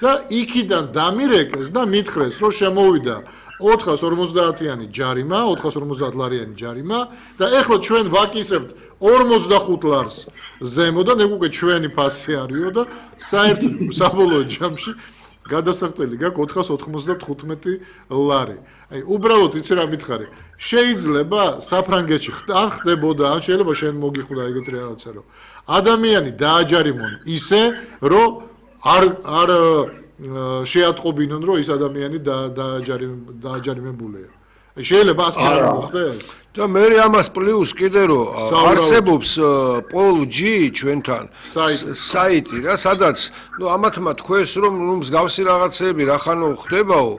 და იქიდან დამირეკეს და მითხრეს, რომ შემოვიდა 450-იანი ჯარიმა, 450 ლარიანი ჯარიმა და ეხლა ჩვენ ვაკისრებთ 45 ლარს ზემოდან, ეგ უკვე ჩვენი ფასი არისო და საერთოდ საბოლოო ჯამში გადასახდელი გაქვს 495 ლარი. აი, უბრალოდ იცი რა მითხარი. შეიძლება საფრანგეთში ან ხდებოდა, ან შეიძლება შენ მოგიხვდა ეგეთი რაღაცა, რომ ადამიანი დააჯარიმონ ისე, რომ არ შეატყობინონ, რომ ის ადამიანი დააჯარიმებულია. შეიძლება ასე არ მოხდეს? და მე ამას პლუს კიდე რომ არსებობს Pol.G ჩვენთან საიტი რა, სადაც ამათმა თქვეს რომ მსგავსი რაღაცები რახანო ხდებაო.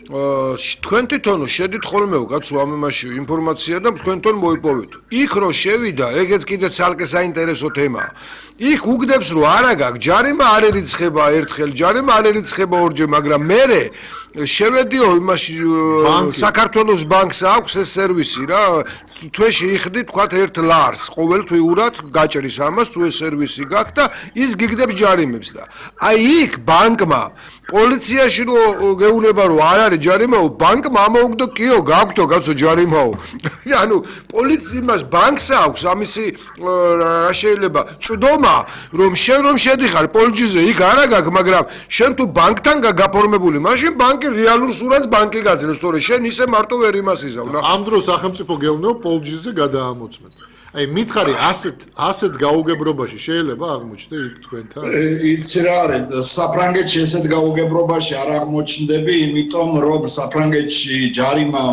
თქვენ თვითონ შედით ხოლმე კაცო ამ იმაში ინფორმაცია და თქვენ თვითონ მოიპოვეთ. იქ რო შევიდა, ეგეც კიდე ცალკე საინტერესო თემაა. იქ უგდებს რომ არა გაქვს ჯარიმა, არ ერიცხება ერთხელ ჯარიმა, არ ერიცხება ორჯერ, მაგრამ მე შევედიო იმაში საქართველოს ბანკს აქვს ეს სერვისი რა, თვეში იხდი თქვათ 1 ლარს ყოველთვიურად გაჭრის ამას თუ ეს სერვისი გაქვს და ის გიგდებს ჯარიმებს და აი იქ ბანკმა პოლიციაში რო გეუბნება რომ არ არის ჯარიმაო, ბანკმა ამოუგდო კიო გაქვთო კაცო ჯარიმაო. ანუ პოლიციას ბანკს აქვს ამისი რა შეიძლება წვდომა რომ შენ რომ შედიხარ Pol.G-ზე იქ არა გაქვს, მაგრამ შენ თუ ბანკთან გაფორმებული, მაშინ ბანკი რეალურ სურათს ბანკი გაძლევს, თორე შენ ისე მარტო ვერ იმას იზავ. ამ დროს სახელმწიფო გეუბნება Pol.G-ზე გადაამოწმეთ. აი მითხარი ასეთ გაუგებრობაში შეიძლება აღმოჩნდე იქ თქვენთან? იცი რა არის, საფრანგეთში ესეთ გაუგებრობაში არ აღმოჩნდები, იმიტომ რომ საფრანგეთში ჯარიმა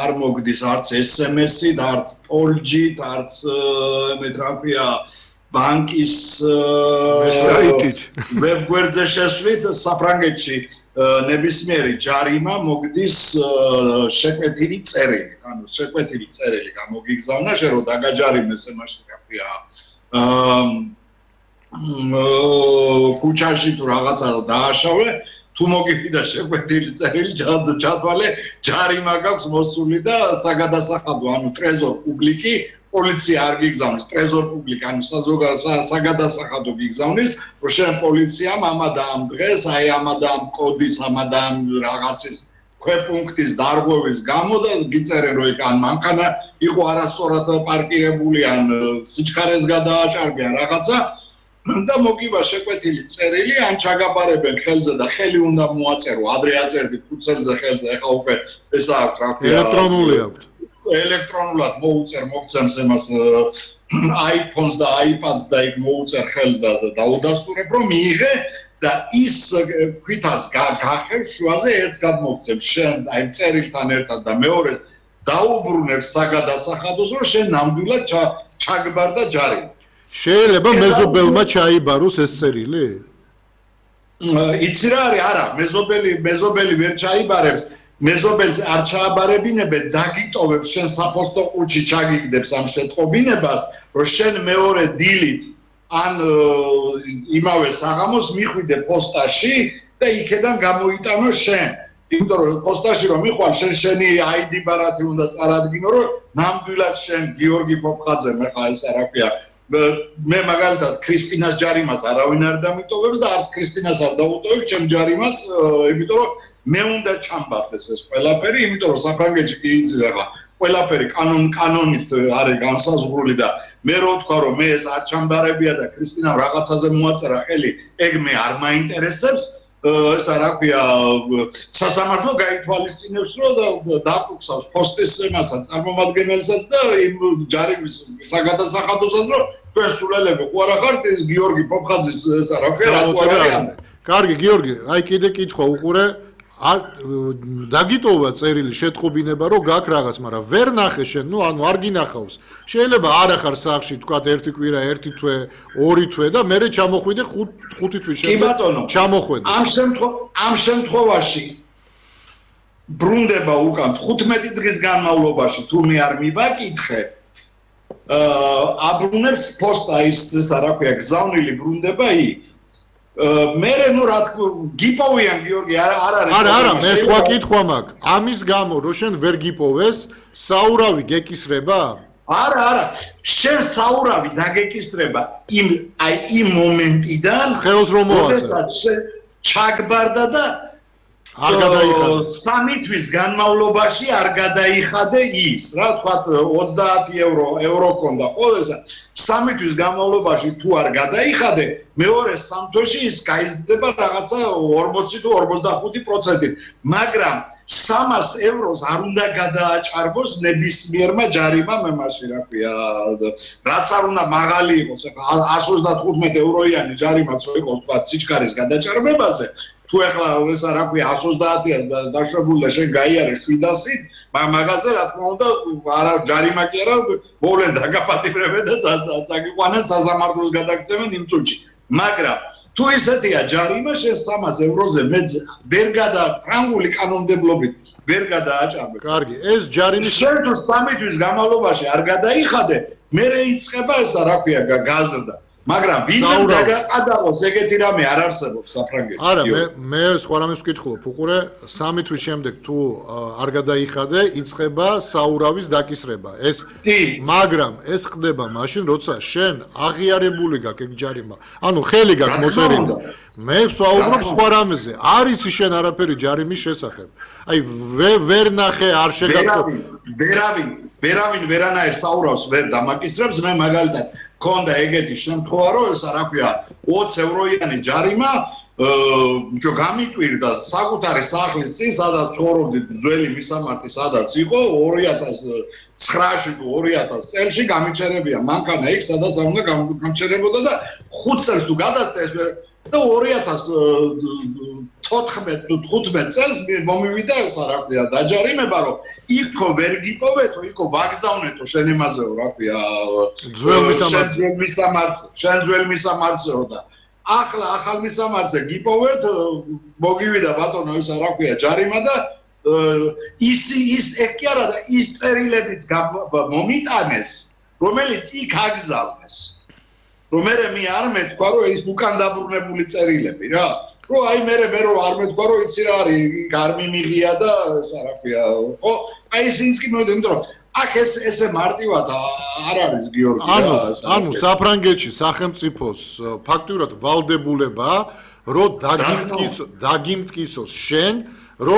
არ მოგდის არც SMS-ით, არც Pol.G-ით, არც მეტრაფია ბანკის საიტით. ვებგვერდზე შესვით საფრანგეთში ნებისმიერი ჯარიმა მოგდის შეკვეთილი წერილი, ანუ შეკვეთილი წერილი გამოგიგზავნა, შენ რო დაგაჯარიმეს იმაში რაფია ქუჩაში თუ რაღაცა რო დააშავე, თუ მოგიფიდა შეკვეთილი წერილი, ჩათვალე ჯარიმა გაქვს მოსული და საგადასახადო, ანუ ტრეზორ პუბლიკი პოლიცია არ გიგზავნის, ტრეზორ პუბლიკ, ანუ საგადასახადო გიგზავნის, რომ შენ პოლიციამ ამადა ამ დღეს, აი ამადა ამ კოდის, ამადა ამ რაღაცის ქვეპუნქტის დარღვევის გამო და გიწერენ რომ იქ ან მანქანა იყო არასწორად პარკირებული, ან სიჩქარეს გადააჭარბიან რაღაცა და მოგივა შეკვეთილი წერილი, ან ჩაგაბარებენ ხელზე და ხელი უნდა მოაწერო, ადრე აწერდი ფუცელზე ხელზე, ეხლა უკვე ესა აქვს რა ქვია. ელექტრონული აქვს. ელექტრონულად მოუწერ მოგცემს εμას iPhones და iPads და იქ მოუწერ ხელს და დაუდასტურებ რომ მიიღე და ის ქვითას გახევ შუაზე ერთს გადმოგცემ შენ აი წერილთან ერთად და მეორეს დაუბრუნებს საგადასახადოს რომ შენ ნამდვილად ჩაგბარდა ჯარი. შეიძლება მეზობელმა ჩაიბაროს ეს წერილი? იცი რა არის, არა, მეზობელი ვერ ჩაიბარებს. მეზობელს არ ჩააბარებინებენ, დაგიტოვებს შენ საფოსტო ყუთში ჩაგიგდებს ამ შეტყობინებას, რომ შენ მეორე დილით ან იმავე საღამოს მიხვიდე პოსტაში და იქედან გამოიტანო შენ. იმიტომ რომ პოსტაში რომ მიხვალ შენი ID ბარათი უნდა წარადგინო, რომ ნამდვილად შენ გიორგი პოპხაძე მეხა ეს რა ქვია. მე მაგალითად ქრისტინას ჯარიმას არავინ არ დამიტოვებს და არც ქრისტინას არ დაუტოვებს ჩემ ჯარიმას, იმიტომ რომ მე უნდა ჩამბარდეს ეს ყველაფერი, იმიტომ რომ საფრანგეთში კი იცი ახლა ყველაფერი კანონით არის განსაზღვრული და მე რო ვთქვა რომ მე ეს არ ჩამბარებია და ქრისტინამ რაღაცაზე მოაწერა ხელი, ეგ მე არ მაინტერესებს, ესა რა ქვია სასამართლო გაითვალისწინებს რომ დაკუცავს პოსტის მასა წარმომადგენელსაც და იმ ჯარიმის საგადასახადოსაც რომ თქვენ სულელები ხო არა ხართ ეს გიორგი პოპხაძის ესა რა ქვია რატო არ არის? კარგი გიორგი, აი კიდე კითხვა უყურე დაგიტოვა წერილი შეტყობინება რომ გაქვს რაღაც, მაგრამ ვერ ნახე შენ, ანუ არ გინახავს. შეიძლება არ ახარ სახლში, თქვათ ერთი კვირა, ერთი თვე, ორი თვე და მერე ჩამოხვიდე 5 თვის შემდეგ ჩამოხვედე. ამ შემთხვევაში ბრუნდება უკან 15 დღის განმავლობაში თუ მე არ მივაკითხე, აბრუნებს პოსტა ის რა ქვია, გზავნილი ბრუნდება იქ. მერე ნუ რა გიპოვიან გიორგი არ არის. არა, მე სხვა კითხვა მაქვს. ამის გამო რომ შენ ვერ გიპოვეს, საურავი გეკისრება? არა, შენ საურავი დაგეკისრება იმ მომენტიდან, ხელს რომ მოაწერე. ჩაგბარდა და არ გადაიხადა. 3 თვის განმავლობაში არ გადაიხადე ის, რა თქვათ 30 ევრო ქონდა ყოველსა. 3 თვის განმავლობაში თუ არ გადაიხადე, მეორე 3 თვეში ის გაიზრდება რაღაცა 40 თუ 45%-ით, მაგრამ 300 ევროს არ უნდა გადააჭარბოს ნებისმიერმა ჯარიმამ მემაში, რა ქვია, რაც არ უნდა მაღალი იყოს, 135 ევროიანი ჯარიმაც რო იყოს, თქვათ სიჩქარის გადაჭარბებაზე. თუ ახლა ეს რა ქვია 130-იან დაშვებული და შენ გაიარე 700-ით, მაგაზე რა თქმა უნდა არა ჯარიმა კი არა, მოვლენ დაგაპატიმრებენ და წაგიყვანენ საზამართლოს გადაგცემენ იმ წუთში. მაგრამ თუ ისეთია ჯარიმა შენ 300 ევროზე მეც ვერ ფრანგული კანონმდებლობით ვერ გადააჭარბე. კარგი, ეს ჯარიმის შენ თუ 3 თვის განმავლობაში არ გადაიხადე, მე იწყება ესა რა ქვია გაზრდა. მაგრამ ვინმე დაგაყადაღოს ეგეთი რამე არ არსებობს საფრანგეთში. არა, მე სხვა რამეს ვკითხულობ, უყურე 3 თვის შემდეგ თუ არ გადაიხადე, იწყება საურავის დაკისრება. მაგრამ ეს ხდება მაშინ, როცა შენ აღიარებული გაქვს ეგ ჯარიმა. ანუ ხელი გაქვს მოწერილი. მე ვსაუბრობ სხვა რამეზე. არ იცი შენ არაფერი ჯარიმის შესახებ. აი ვერ ნახე არ შეგაქვს. ვერავინ ვერანაირ საურავს ვერ დამაკისრებს, მე მაგალითად ქონდა ეგეთი შემთხვევა, რომ ესა რა ქვია 20 ევროიანი ჯარიმა გამიკვირდა საკუთარი სახლის წინ, სადაც ცხოვრობდით ძველი მისამართი, სადაც იყო 2009-ში თუ 2000 წელში გამიჩერებია მანქანა იქ, სადაც არ უნდა გამჩერებოდა და 5 წელს თუ გადასწრა ეს და 2014 თუ 15 წელს მომივიდა ესა რა ქვია დაჯარიმება, რომ იქო ვერ გიპოვეთო, იქო ვაგზავნეთო შენ იმაზეო რა ქვია შენ ძველ მისამართზეო და ახლა ახალ მისამართზე გიპოვეთ, მოგივიდა ბატონო ისა რა ქვია ჯარიმა და ის ეგ კი არა და ის წერილებიც მომიტანეს, რომელიც იქ აგზავნეს. რომ მე არ მეთქვა რომ ის უკან დაბრუნებული წერილები რა. რომ აი მე რომ არ მეთქვა რომ იცი რა არის, არ მიმიღია და ესა რა ქვია. ხო, აი ისინიც კი მოვიდა, იმიტომ რომ აქ ესე მარტივად არ არის გიორგი რა. ანუ საფრანგეთში სახელმწიფოს ფაქტურად ვალდებულება რომ დაგიმტკიცოს შენ